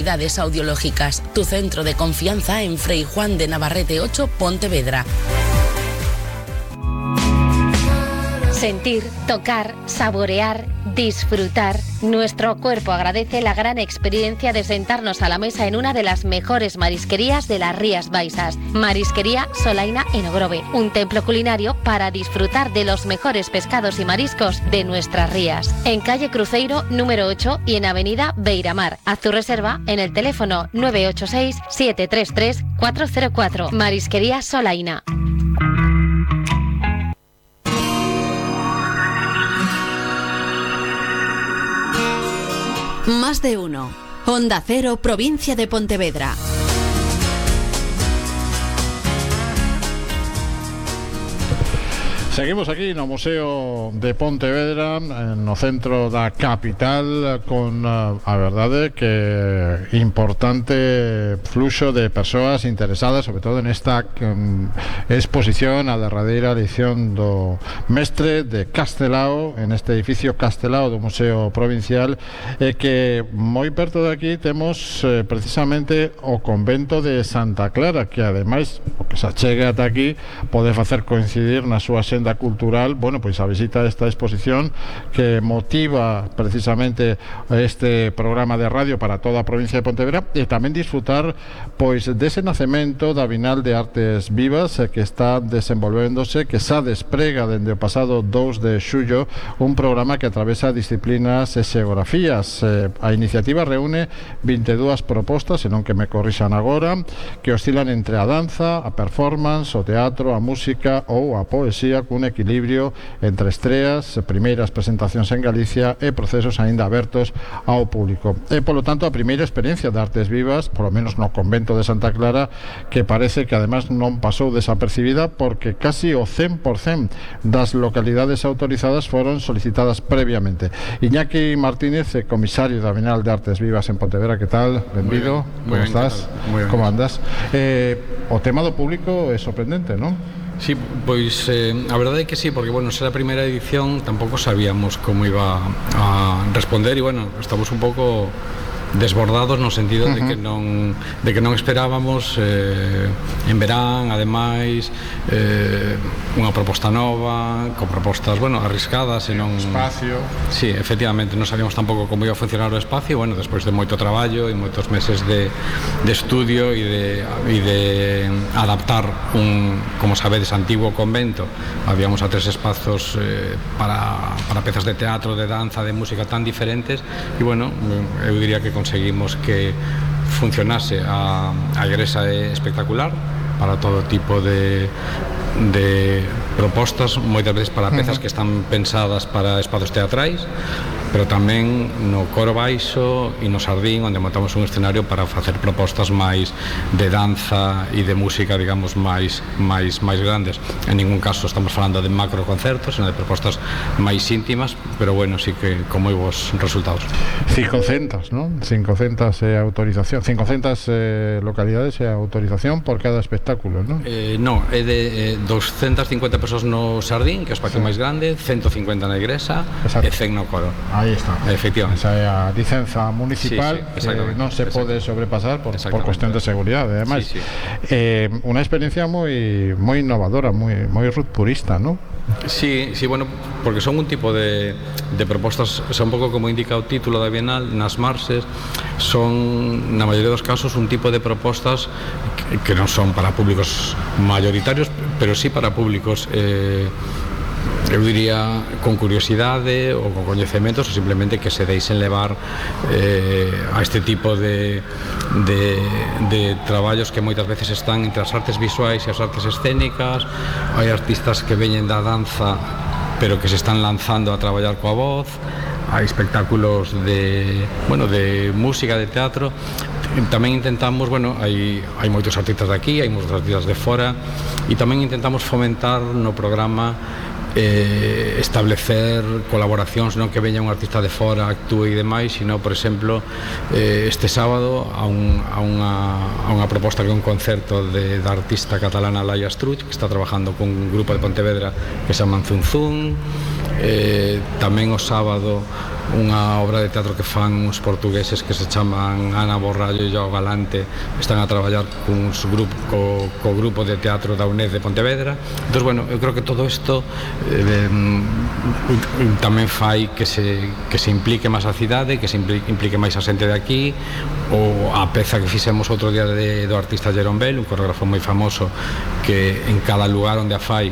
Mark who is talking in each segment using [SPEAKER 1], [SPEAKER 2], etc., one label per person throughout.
[SPEAKER 1] Audiológicas, tu centro de confianza en Fray Juan de Navarrete 8, Pontevedra.
[SPEAKER 2] Sentir, tocar, saborear, disfrutar. Nuestro cuerpo agradece la gran experiencia de sentarnos a la mesa en una de las mejores marisquerías de las Rías Baixas. Marisquería Solaina en Ogrove, un templo culinario para disfrutar de los mejores pescados y mariscos de nuestras rías. En calle Cruzeiro número 8 y en avenida Beiramar. Haz tu reserva en el teléfono 986 733 404. Marisquería Solaina.
[SPEAKER 3] Más de uno. Onda Cero, provincia de Pontevedra.
[SPEAKER 4] Seguimos aquí no Museo de Pontevedra, no centro da capital, con a verdade que importante fluxo de persoas interesadas, sobre todo en esta exposición, a derradeira edición do Mestre de Castelao, en este edificio Castelao do Museo Provincial, que moi perto de aquí temos precisamente o convento de Santa Clara, que ademais, o que se achegue ata aquí, pode facer coincidir na súa xenda cultural, bueno, pois a visita a esta exposición que motiva precisamente este programa de radio para toda a provincia de Pontevedra, e tamén disfrutar pois dese nacemento da Bienal de Artes Vivas que está desenvolvéndose, que xa desprega dende o pasado 2 de xullo un programa que atravesa disciplinas e xeografías. A iniciativa reúne 22 propostas, senón que me corrixan agora, que oscilan entre a danza, a performance, o teatro, a música ou a poesía, cun equilibrio entre estreas, primeiras presentacións en Galicia e procesos aínda abertos ao público. E, polo tanto, a primeira experiencia de Artes Vivas, polo menos no convento de Santa Clara, que parece que además non pasou desapercibida, porque casi o 100% das localidades autorizadas foron solicitadas previamente. Iñaki Martínez, comisario da Bienal de Artes Vivas en Pontevedra, que tal? Benvido, como estás? Como andas? O tema do público é sorprendente, non?
[SPEAKER 5] Sí, pois a verdade é que sí, porque, bueno, ser a primeira edición tampouco sabíamos como iba a responder e, bueno, estamos un pouco desbordados no sentido de que non esperábamos en verán, ademais unha proposta nova, con propostas, bueno, arriscadas e non...
[SPEAKER 4] Espacio.
[SPEAKER 5] Sí, efectivamente, non sabíamos tampouco como iba a funcionar o espacio, bueno, despois de moito traballo e moitos meses de estudio e de adaptar un, como sabedes, antigo convento. Habíamos a 3 espazos para pezas de teatro, de danza, de música tan diferentes e, bueno, eu diría que conseguimos que funcionase. A igrexa é espectacular para todo tipo de propostas, moitas veces para pezas que están pensadas para espazos teatrais, pero tamén no coro baixo e no Sardín, onde montamos un escenario para facer propostas máis de danza e de música, digamos, máis grandes. En ningún caso estamos falando de macro concertos, sino de propostas máis íntimas, pero bueno, sí que con moi bons resultados.
[SPEAKER 4] 500, non? 500 autorización, 500 localidades e autorización por cada espectáculo, non?
[SPEAKER 5] Non, é de 250 persoas no Sardín, que é o espacio máis grande, 150 na igrexa e 100 no coro.
[SPEAKER 4] Aí está.
[SPEAKER 5] Efectivamente.
[SPEAKER 4] Esa é a licenza municipal, que non se pode sobrepasar por cuestión de seguridade, ademais. Unha experiencia moi innovadora, moi rupturista, non?
[SPEAKER 5] Sí, bueno, porque son un tipo de propostas, son un pouco como indica o título da Bienal, nas marxes, son, na maioría dos casos, un tipo de propostas que non son para públicos mayoritarios, pero sí para públicos eu diría con curiosidade ou con coñecementos, ou simplemente que se deixen levar a este tipo de traballos que moitas veces están entre as artes visuais e as artes escénicas. Hai artistas que veñen da danza pero que se están lanzando a traballar coa voz. Hai espectáculos de música, de teatro. Tamén intentamos, hai moitos artistas de aquí, hai moitos artistas de fora, e tamén intentamos fomentar no programa establecer colaboracións, non que veña un artista de fora, actúe e demais, sino, por exemplo, este sábado a unha proposta que é un concerto da artista catalana Laia Struch, que está trabajando con un grupo de Pontevedra que se chama Zunzún. tamén o sábado unha obra de teatro que fan uns portugueses que se chaman Ana Borrallo e Joao Galante, están a traballar co grupo de teatro da UNED de Pontevedra. Entón, bueno, eu creo que todo isto tamén fai que se implique máis a cidade, que se implique máis a xente de aquí, ou a peza que fixemos outro día do artista Jerón Bell, un coreógrafo moi famoso, que en cada lugar onde a fai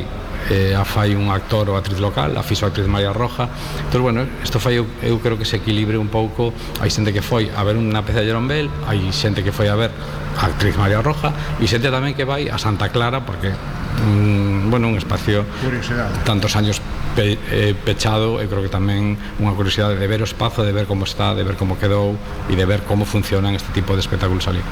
[SPEAKER 5] un actor ou actriz local, a fixo a actriz María Roja. Entón, bueno, isto fai, eu creo que se equilibre un pouco. Hai xente que foi a ver unha peza de Jerón Bell, hai xente que foi a ver a actriz María Roja, e xente tamén que vai a Santa Clara, porque un espacio tantos años pechado. Eu creo que tamén unha curiosidade de ver o espazo, de ver como está, de ver como quedou e de ver como funcionan este tipo de espectáculos ali.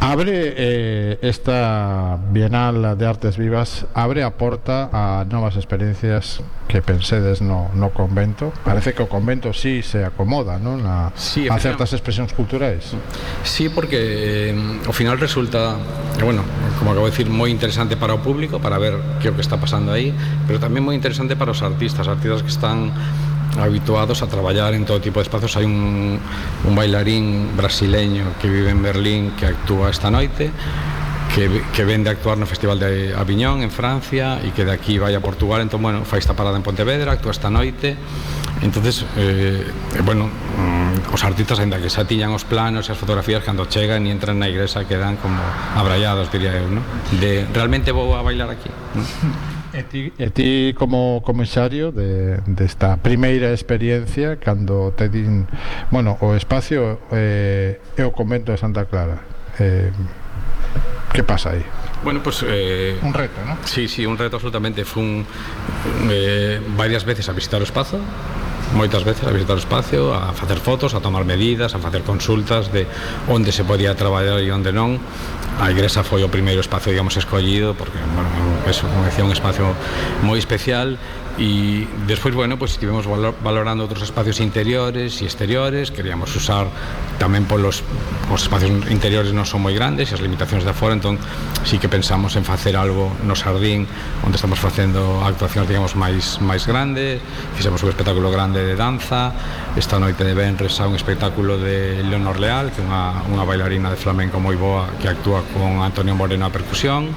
[SPEAKER 4] Abre esta Bienal de Artes Vivas, abre a porta a novas experiencias que pensedes no convento. Parece que o convento sí se acomoda, non? A certas expresións culturais.
[SPEAKER 5] Sí, porque ao final resulta, bueno, como acabo de decir, moi interesante para o público, para ver que é o que está pasando aí, pero tamén moi interesante para os artistas que están habituados a traballar en todo tipo de espacios. Hai un bailarín brasileño que vive en Berlín que actúa esta noite, que vende a actuar no Festival de Aviñón en Francia e que de aquí vai a Portugal. Entón, bueno, fai esta parada en Pontevedra, actúa esta noite. Entonces, os artistas, ainda que xa tiñan os planos e as fotografías, cando chegan e entran na igrexa quedan como abrallados, diría eu, ¿no? De realmente vou a bailar aquí, ¿no?
[SPEAKER 4] E ti como comisario desta primeira experiencia, cando te din, bueno, o espacio é o convento de Santa Clara, que pasa aí?
[SPEAKER 5] Bueno, pues
[SPEAKER 4] un reto, ¿no?
[SPEAKER 5] Sí, un reto absolutamente. Fun varias veces a visitar o espazo, moitas veces a visitar o espacio, a facer fotos, a tomar medidas, a facer consultas de onde se podía traballar e onde non. A igrexa foi o primeiro espacio, digamos, escollido, porque, bueno, como decía, un espacio moi especial. E despois, bueno, pues estivemos valorando outros espacios interiores e exteriores. Queríamos usar tamén os espacios interiores non son moi grandes e as limitacións de afora, entón sí que pensamos en facer algo no xardín onde estamos facendo actuacións, digamos, máis grandes. Fixemos un espectáculo grande de danza. Esta noite de venres a un espectáculo de Leonor Leal, que é unha bailarina de flamenco moi boa, que actúa con Antonio Moreno a percusión,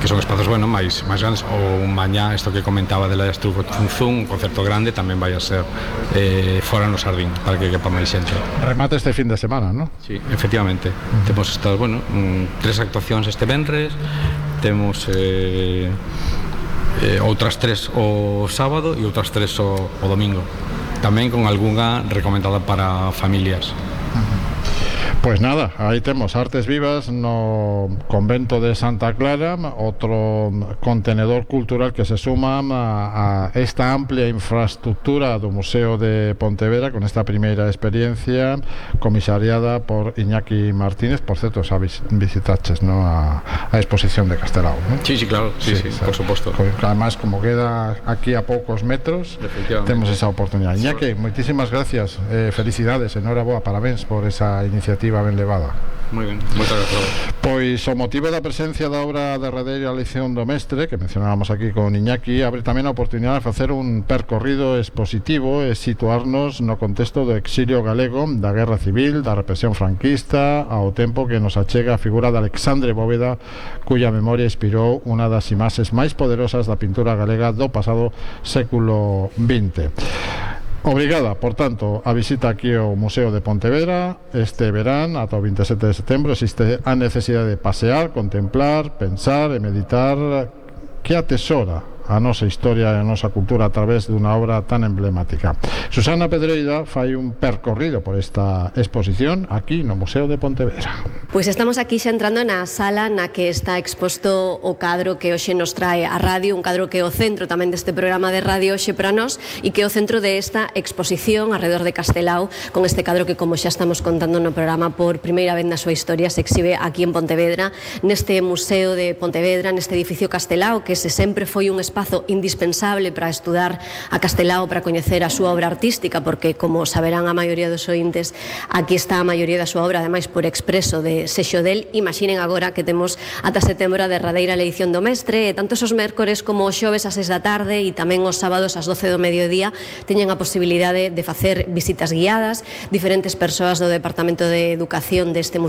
[SPEAKER 5] que son espazos, bueno, máis grandes. Ou mañá, isto que comentaba de la Estruco un concerto grande, tamén vai a ser fora no xardín, para que quepa máis xente.
[SPEAKER 4] Remate este fin de semana, non?
[SPEAKER 5] Sí, efectivamente. Temos estas, bueno, 3 actuacións este venres, temos outras 3 o sábado e outras 3 o domingo, tamén con algunha recomendada para familias.
[SPEAKER 4] Pues nada, aí temos Artes Vivas no convento de Santa Clara, outro contenedor cultural que se suma a esta amplia infraestructura do Museo de Pontevedra, con esta primeira experiencia comisariada por Iñaki Martínez. Por certo, xa visitaches, ¿no?, a exposición de Castelao, ¿no?
[SPEAKER 5] Sí, claro, sí, por suposto.
[SPEAKER 4] Además, como queda aquí a poucos metros, temos esa oportunidade. Iñaki, moitísimas gracias, felicidades, enhoraboa, parabéns por esa iniciativa ben levada.
[SPEAKER 5] Moi ben, moitas gracias.
[SPEAKER 4] Pois o motivo da presencia da obra derradeira lección do mestre, que mencionábamos aquí con Iñaki, abre tamén a oportunidade de facer un percorrido expositivo e situarnos no contexto do exilio galego, da guerra civil, da represión franquista, ao tempo que nos achega a figura de Alexandre Bóveda, cuya memoria inspirou unha das imaxes máis poderosas da pintura galega do pasado século XX. Obrigada, por tanto, a visita aquí ao Museo de Pontevedra este verán ata o 27 de setembro. Existe a necesidade de pasear, contemplar, pensar e meditar que atesora a nosa historia e a nosa cultura a través dunha obra tan emblemática. Susana Pedreira fai un percorrido por esta exposición aquí no Museo de Pontevedra.
[SPEAKER 6] Pois estamos aquí xa entrando na sala na que está exposto o cadro que hoxe nos trae a radio, un cadro que é o centro tamén deste programa de radio hoxe para nós e que é o centro de esta exposición alrededor de Castelao, con este cadro que, como xa estamos contando no programa, por primeira vez na súa historia se exhibe aquí en Pontevedra, neste Museo de Pontevedra, neste edificio Castelao, que se sempre foi un espazo indispensable para estudar a Castelao, para coñecer a súa obra artística, porque, como saberán a maioría dos ointes, aquí está a maioría da súa obra, ademais por expreso de sexo del. Imaginen agora que temos ata setembro a derradeira eleición do mestre, e tanto os mércores como os xoves ás 6 da tarde e tamén os sábados ás 12 do mediodía teñen a posibilidade de facer visitas guiadas. Diferentes persoas do Departamento de Educación deste museo